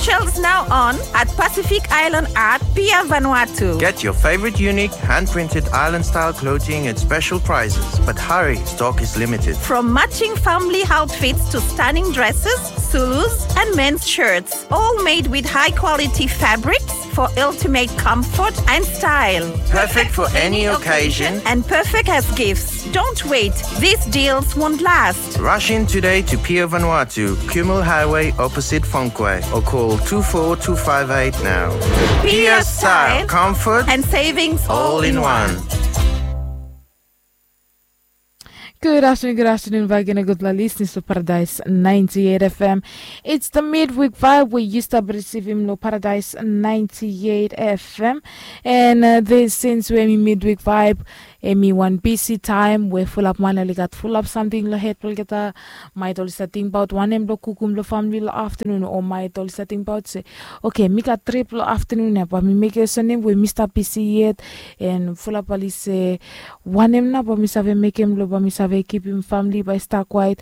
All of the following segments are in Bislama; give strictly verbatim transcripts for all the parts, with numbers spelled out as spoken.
Shells now on at Pacific Island Art, Pier Vanuatu. Get your favorite unique hand-printed island-style clothing at special prices. But hurry, stock is limited. From matching family outfits to stunning dresses, Zulus, and men's shirts, all made with high-quality fabrics for ultimate comfort and style. Perfect for any occasion and perfect as gifts. Don't wait, these deals won't last. Rush in today to Pier Vanuatu, Kumul Highway, opposite Fonque, or call two four two five eight now. Pier style, comfort, and savings all in one. Good afternoon, good afternoon, back again, gudfala listeners to Paradise ninety-eight F M. It's the midweek vibe we used to receive him lo Paradise ninety-eight F M. And uh, this since we midweek vibe, hemi wan bisi taem we fulap man oli gat fulap samting lo hed blo olgeta. Maet oli save tingbaot wanem blo kukum lo famili lo aftenun, o maet oli save tingbaot se, oke, mi gat trip lo aftenun ya, bae mi mekem olsem we mi stap bisi yet. And fulap oli se, wanem nao bae mi save mekem lo bae mi save kipim famili bae i stap kwaet.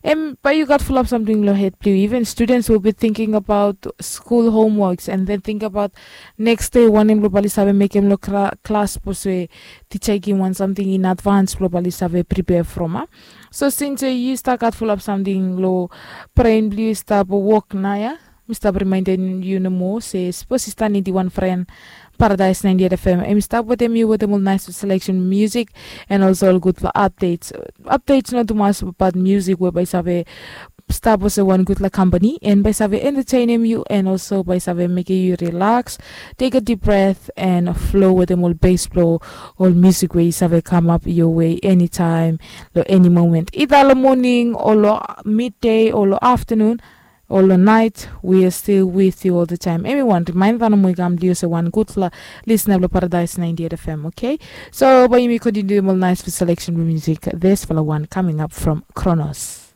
Em, bae yu gat fulap samting lo hed blo yu. Even students will be thinking about school homeworks and then think about next day wanem lo bae oli save mekem lo klas, sapos we tija i givim wan samting in advance blo bae oli save prepare from, a? So since yu stap gat fulap samting lo bren blo yu, stap wok nao ya, mi stap rimaendem yu nomo se sapos yu stap nidim wan fren, Paradise ninety-eight F M hemi stap wetem yu wetem ol naes seleksen musik and also ol gudfala updates. Updates no tumas, bat musik we bae i save stap olsem wan gudfala kampani and bae i save entetenem yu and also bae i save mekem yu rilaks, tek a dip bret and flo wetem ol bes blo ol musik we i save kamap yowe enitaem, lo eni moment, ida lo moning o lo midei o lo aftenun o lo naet, we are still with you all the time. Hemi wan rimaenda nomo i kam blo yu olsem wan gudfala lisena blo Paradise ninety-eight F M, oke? So bae yumi kontiniuem ol naes seleksen blo musik. Disfala wan coming up from Kronos.